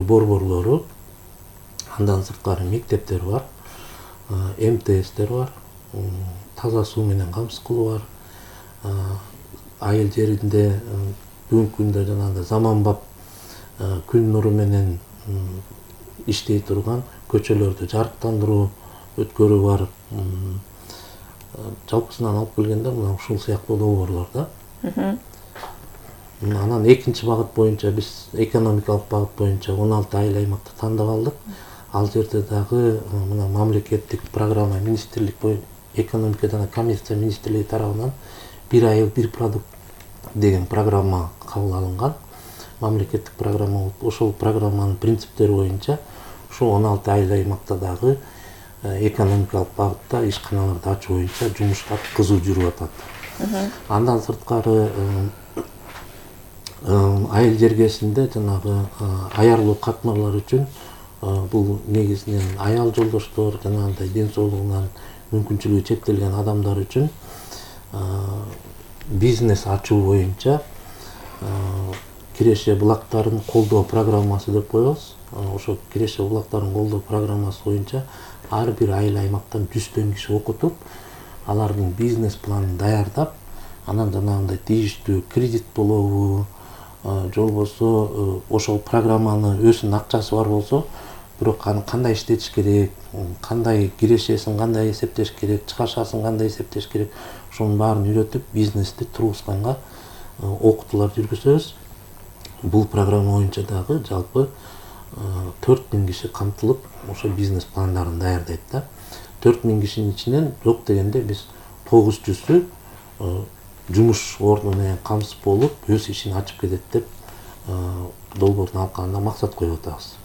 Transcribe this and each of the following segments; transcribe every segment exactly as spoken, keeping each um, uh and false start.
борборлору, андан сырткары мектептер бар, эм тэ эстер бар, таза суу менен камсыз бар, айыл жеринде бүгүнкү күндө жанагындай заманбап күн нуру менен иштей турган көчөлөрдү жарыктандыруу өткөрүү бар. Жалпысынан алып келгенде мына ушул сыяктуу долбоорлор да. Анан экинчи багыт боюнча биз экономикалык багыт боюнча он алты айыл аймакты тандап алдык. Ал жерде дагы мына мамлекеттик программа министрлик боюнча экономика жана коммерция министрлиги тарабынан бир айыл бир продукт деген программа кабыл алынган. Мамлекеттик программа болуп, ошол программанын принциптери боюнча ушул он алты айыл аймакта дагы экономикалык багытта ишканаларды ачуу боюнча жумуштар кызуу жүрүп атат. Андан сырткары айыл жергесинде жанагы аярлуу катмарлар үчүн бул негизинен аял жолдоштор, жанагындай ден соолугунан мүмкүнчүлүгү чектелген адамдар үчүн бизнес ачуу боюнча Киреше булактарын колдоо программасы деп коебуз. Ошо Киреше булактарын колдоо программасы боюнча ар бир айыл аймактан жүздөн киши окутуп, алардын бизнес планын даярдап, анан жанагындай тийиштүү кредит болобу, же болбосо ошол программаны өзүнүн акчасы бар болсо, бирок аны кандай иштетиш керек, кандай кирешесин кандай эсептеш керек, чыгашасын кандай эсептеш керек, ошонун баарын үйрөтүп, бизнести тургузганга окутуулар жүргүзөбүз. Бул программа боюнча дагы жалпы төрт миң киши камтылып, ошо бизнес пландарын даярдайт да. төрт миң кишинин ичинен жок дегенде биз тогуз жүзү жумуш орду менен камсыз болуп, өз ишин ачып кетет деп долбоордун алкагында максат коюп атабыз.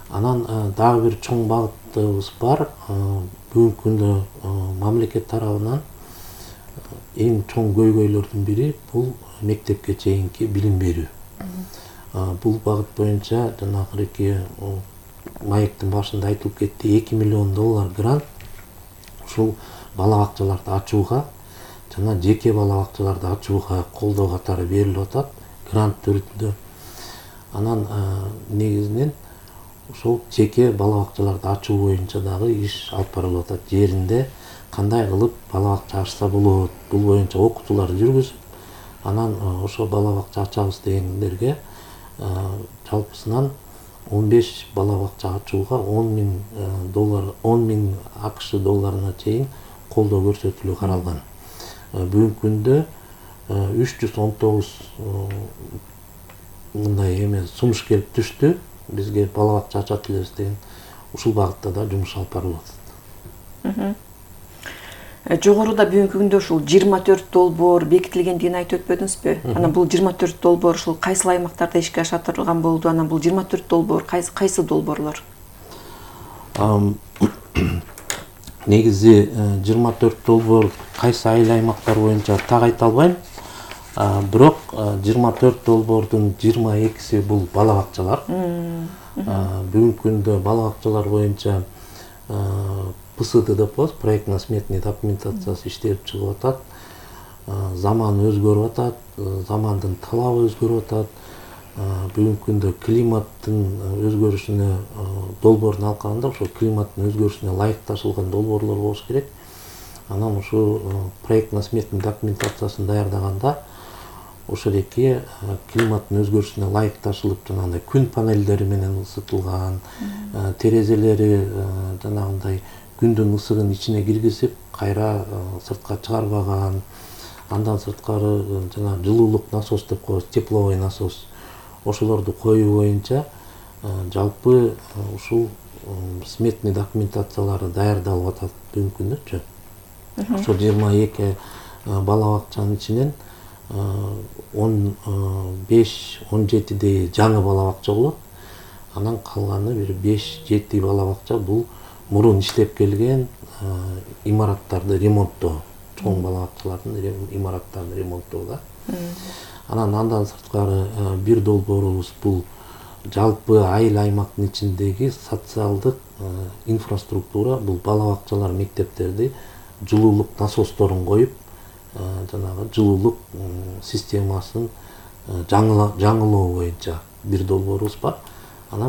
Анан дагы бир чоң багытыбыз бар. Бүгүнкү күндө мамлекет тарабынан эң чоң көйгөйлөрдүн бири бул мектепке чейинки билим берүү. Бул багыт боюнча жанагы маектин башында айтылып кетти, эки миллион доллар грант ушул бала бакчаларды ачууга жана жеке бала бакчаларды ачууга колдоо катары берилип атат, грант түрүндө. Анан негизинен ошол жеке бала бакчаларды ачуу боюнча дагы иш алып барылып атат. Жеринде кандай кылып бала бакча ачса болот, бул боюнча окутуулар жүргүзүп, анан ошо бала бакча ачабыз дегендерге жалпысынан он беш бала бакча ачууга он миң доллар, он миң акш долларына чейин колдоо көрсөтүлүү каралган. Бүгүнкү күндө үч жүз он тогуз мындай эме сунуш келип түштү. Бизге бала бакча ачат элебиз деген ушул багытта да жумуш алып барылып атат. Жогоруда бүгүнкү күндө ушул жыйырма төрт долбоор бекитилгендигин айтып өтпөдүңүзбү? Анан бул жыйырма төрт долбоор ушул кайсы аймактарда ишке аша турган болду? Анан бул жыйырма төрт долбоор кайсы кайсы долбоорлор? Негизи жыйырма төрт долбоор кайсы айыл аймактар боюнча так айта албайм. Бирок жыйырма төрт долбоордун жыйырма экиси бул бала бакчалар. Бүгүнкү күндө бала бакчалар боюнча пэ эс дэ деп коебуз, проектно-сметный документациясы иштелип чыгып атат. Заман өзгөрүп атат, замандын талабы өзгөрүп атат. Бүгүнкү күндө климаттын өзгөрүшүнө долбоордун алкагында ошо климаттын өзгөрүшүнө ылайыкташылган долбоорлор болуш керек. Анан ушул проектно-сметный документациясын даярдаганда ошол эки климаттын өзгөрүшүнө ылайыкташылып, жанагындай күн панелдери менен ысытылган, терезелери жанагындай күндүн ысыгын ичине киргизип, кайра сыртка чыгарбаган. Андан сырткары жана жылуулук насос деп коебуз, тепловой насос. Ошолорду коюу боюнча жалпы ушул сметный документациялары даярдалып атат бүгүнкү күндөчү. Ошо жыйырма эки бала бакчанын ичинен он беш он жетидей жаңы бала бакча болот. Анан калганы бир беш жети бала бакча бул мурун иштеп келген имараттарды ремонттоо, чоң бала бакчалардын имараттарын ремонттоо да. Анан андан сырткары бир долбоорубуз бул жалпы айыл аймактын ичиндеги социалдык инфраструктура, бул бала бакчалар, мектептерди жылуулук насосторун коюп, жанагы жылуулук системасын жаңылоо боюнча бир долбоорубуз бар. Анан